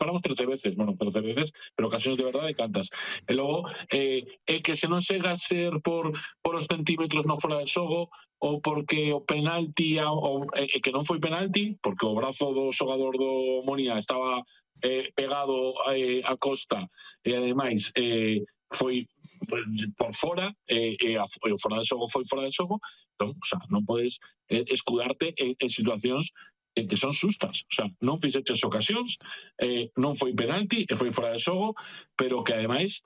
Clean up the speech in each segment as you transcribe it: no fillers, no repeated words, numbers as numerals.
falamos 13 veces, pero ocasións de verdade cantas. E logo, que se non chega a ser por os centímetros no fora de xogo, ou porque o penalti que non foi penalti, porque o brazo do xogador do Monia estaba pegado a Costa, e ademais foi por fora, e o fora de xogo foi fora de xogo. Entón, o sea, non podes escudarte en situacións que son sustas. O sea, non fixeches ocasións, non foi penalti e foi fora de xogo, pero que ademais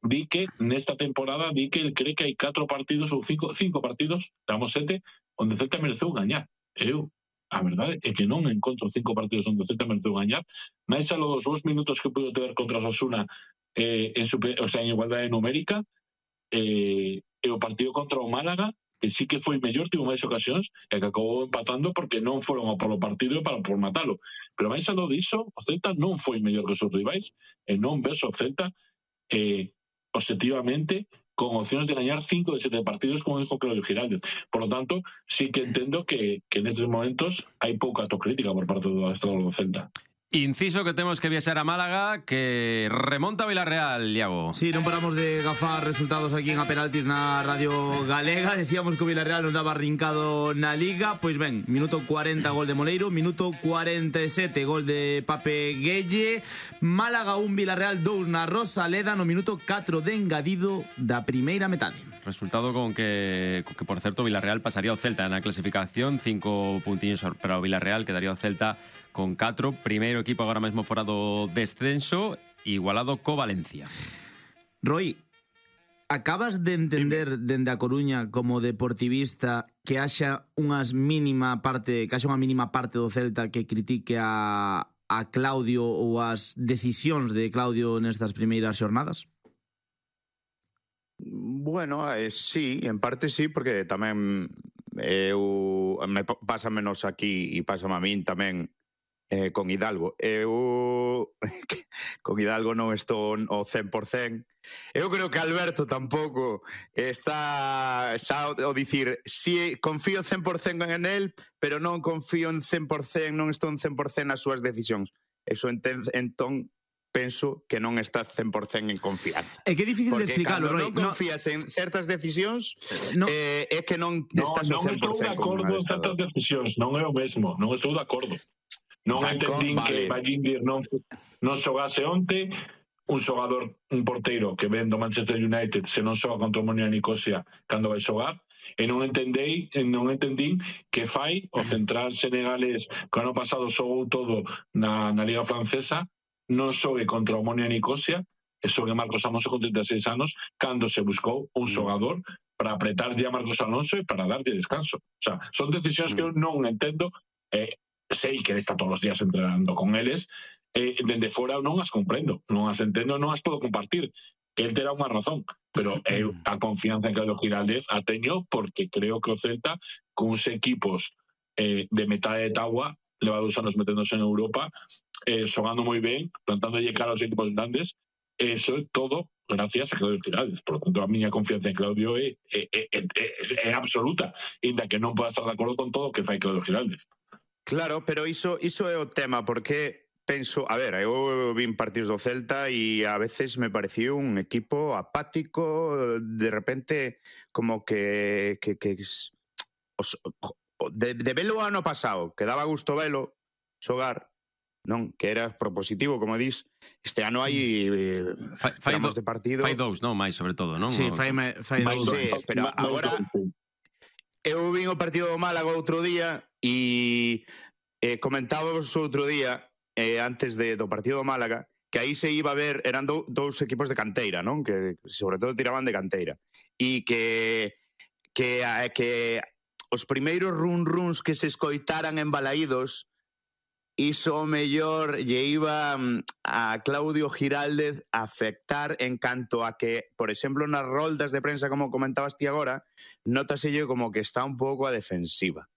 di que nesta temporada di que el cree que hai 4 partidos ou 5 partidos, damos 7, onde Celta mereceu gañar. A verdade é que non encontro 5 partidos onde Celta mereceu gañar, máis alo dos 2 minutos que pudo ter contra o Osasuna en igualdade numérica, e o partido contra o Málaga, que sí que foi mellor, tivo máis ocasións, e que acabou empatando porque non foron a polo partido e por matalo. Pero máis aló diso, o Celta non foi mellor que os seus rivais, e non ves o Celta objetivamente con opcións de gañar 5 de 7 partidos, como dijo Claudio Giraldez. Por lo tanto, sí que entendo que nestes momentos hai pouca autocrítica por parte do adestrador do Celta. Inciso que temos que viaxar a Málaga, que remonta a Villarreal, Iago. Sí, non paramos de gafar resultados aquí en A Penaltis na Radio Galega. Decíamos que o Villarreal nos daba rincado na Liga. Pois ben, minuto 40 gol de Moleiro, minuto 47 gol de Pape Gueye. Málaga 1, Villarreal 2 na Rosaleda no minuto 4 de engadido da primeira metade. Resultado con que por certo, Villarreal pasaría ao Celta na clasificación, 5 puntiños para o Villarreal, quedaría o Celta con 4, primeiro equipo agora mesmo fora do descenso, igualado co Valencia. Roy, acabas de entender dende a Coruña como deportivista que haxa unha mínima parte do Celta que critique a Claudio ou as decisións de Claudio nestas primeiras xornadas? Bueno, sí, en parte sí, porque tamén pasa menos aquí e pásame a min tamén con Hidalgo. Con Hidalgo non estou ao 100%. Eu creo que Alberto tampouco está xa ao dicir si confío 100% en él, pero non confío en 100%, non estou en 100% nas súas decisións. Eso entón penso que non estás 100% en confianza. É que é difícil de explicarlo, Roy. Porque non confías en certas decisións, é que non estás ao 100% non estou de acordo en certas decisións, non é o mesmo, non estou de acordo. Non entendín que Ballindir non xogase onte, un xogador, un porteiro que ven do Manchester United se non xoga contra o Monia Nicosia cando vai xogar, e non entendín que fai o central senegalés que ano pasado xogou todo na Liga Francesa, non xogue contra o Monia Nicosia e xogue Marcos Alonso con 36 anos cando se buscou un xogador para apretarlle a Marcos Alonso e para darlle descanso. O sea, son decisións que eu non entendo, sei que está todos os días entrenando con eles, dende fora non as comprendo, non as entendo, non as podo compartir. El terá unha razón, pero a confianza en Claudio Giraldez a teño porque creo que o Celta con uns equipos de metade de tabua leva 2 anos meténdose en Europa, xogando moi ben, plantándolle cara aos equipos grandes, eso é todo gracias a Claudio Giraldez. Por lo tanto, a miña confianza en Claudio é absoluta, inda que non poda estar de acordo con todo o que fai Claudio Giraldez. Claro, pero iso é o tema, porque penso, a ver, eu vin partidos do Celta e a veces me pareció un equipo apático, de repente como que de velo ano pasado, que daba gusto velo xogar, non, que era propositivo, como dis, este ano hai tramos de partido. Fai 2, non? Mais sobre todo, non? Sí, fai 2. Sí, pero agora eu vin o partido do Málaga outro día e comentábamos outro día antes do partido do Málaga que aí se iba a ver, eran dous equipos de canteira, non? Que sobre todo tiraban de canteira e que os primeiros run-runs que se escoitaran en Balaídos, iso o mellor lle iba a Claudio Giraldez a afectar en canto a que, por exemplo, nas roldas de prensa, como comentabas ti agora, nótaselle como que está un pouco a defensiva.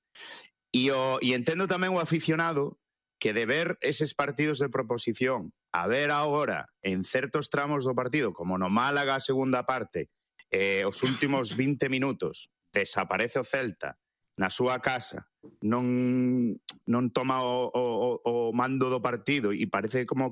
E entendo tamén o aficionado que de ver eses partidos de proposición a ver agora en certos tramos do partido, como no Málaga a segunda parte, os últimos 20 minutos desaparece o Celta na súa casa, non toma o mando do partido e parece como